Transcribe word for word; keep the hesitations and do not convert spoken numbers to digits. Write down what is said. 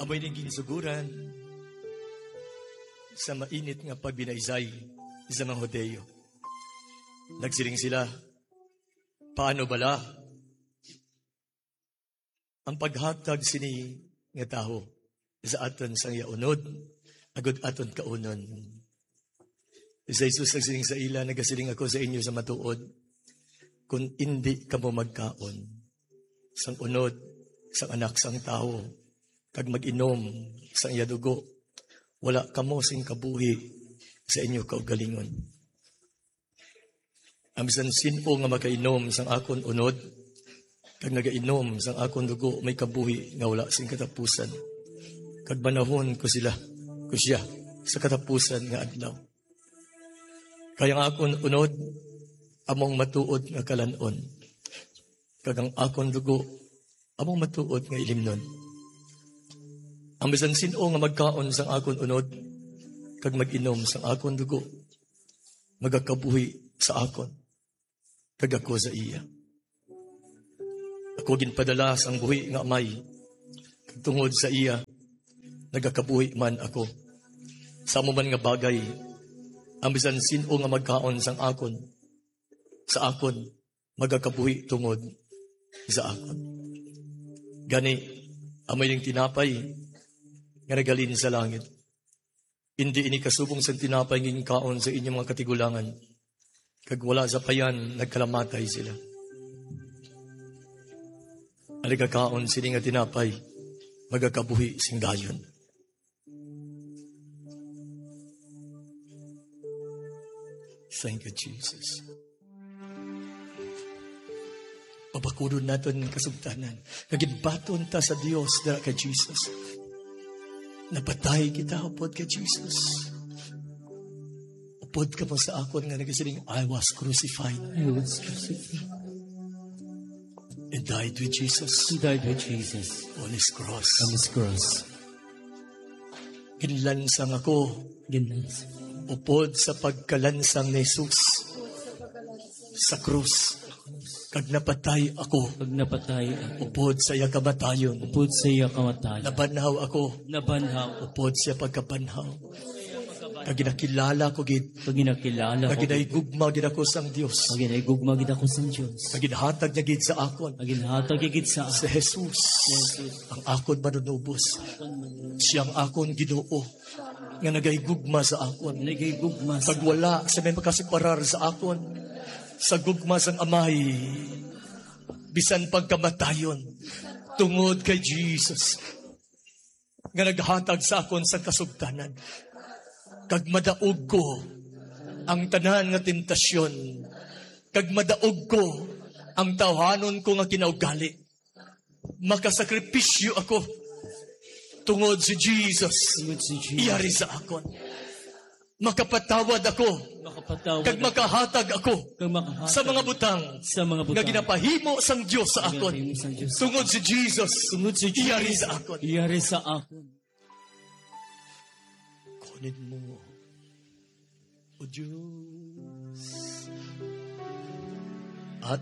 Amoy ning ginsuguran sa mainit nga pagbinaysay sa mga Hudiyo. Nagsiling sila, "Paano bala ang paghatag sini nga tawo sa aton sang iya unod, agud aton kaunon?" Si Jesus nagsiling sa ila, "Nagasiling ako sa inyo sa matuod, kun indi kamo magkaon sang unod sang Anak sang Tawo kag mag-inom sang iya dugo, wala kamo sing kabuhi sa inyo kaugalingon. Ang bisan sin-o nga makainom sang akon unod kag nagainom sang akon dugo may kabuhi nga wala sing katapusan, kag banawon ko sila, ko siya, sa katapusan nga adlaw. Kay ang akon unod among matuod nga kalan-on, kag ang akon dugo among matuod nga ilimnon. Ang bisan sin-o nga magkaon sang akon unod kag mag-inom sang akon dugo, magakabuhi sa akon, kag ako sa iya. Ako ginpadala sang buhi nga Amay, kag tungod sa iya nagakabuhi man ako. Sa amo man nga bagay, ang bisan sin-o nga magkaon sang akon, sa akon, magakabuhi tungod sa akon. Gani, amo ining tinapay nga naghalin sa langit. Indi ini kasubong sang tinapay nga ginkaon sa inyong mga katigulangan, kag wala sapayan nagkalamatay sila. Ang nagakaon sini nga tinapay magakabuhi sing dayon." Thank you, Jesus. Pabakudon naton ang kasugtanan nga ginbaton ta sa Dios dira kay Jesus. Napatay kita upod kay Jesus. Upod kamo sa akon nga nagasiling, "I was crucified." I was crucified. And died with Jesus. He died with Jesus on his cross. On his cross. Ginlansang ako. Ginlansang. Upod sa pagkalansang ni Jesus sa krus. Kag napatay ako. Kag napatay ako. Upod sa iya kamatayon. Upod sa iya kamatayon. Nabanhaw ako. Nabanhaw. Upod sa iya pagkabanhaw. Kag ginakilala ko gid. Kag ginakilala ko gid. Kag ginahigugma gid ako sang Dios. Kag ginahigugma gid ako sang Dios. Kag ginhatag niya gid sa akon. Kag ginhatag niya gid sa akon. Si Jesus. Si Jesus. Ang akon manunubos. Ang akon manunubos. Siya ang akon Ginoo nga nagahigugma sa akon. Nagahigugma sa Kag wala sa may makasiparar sa akon sa gugma sang Amay, bisan pagkamatayon, tungod kay Jesus nga naghatag sa akon sang kasugtanan. Kag madaog ko ang tanan nga temptasyon, kag madaog ko ang tawhanon ko nga kinaugali. Makasakripisyo ako tungod si Jesus. Tungod si Jesus. Iyari sa akon. Makapatawad ako. Makapatawad Kag ako. Makahatag ako Kag makahatag sa mga butang sa mga nga butang ginapahimo sang Dios sa nga akon. Ginapahimo sang Dios sa Tungod akon. Si Jesus. Tungod si Jesus. Iyari sa akon. Iyari sa akon. Kunin mo, O Dios, at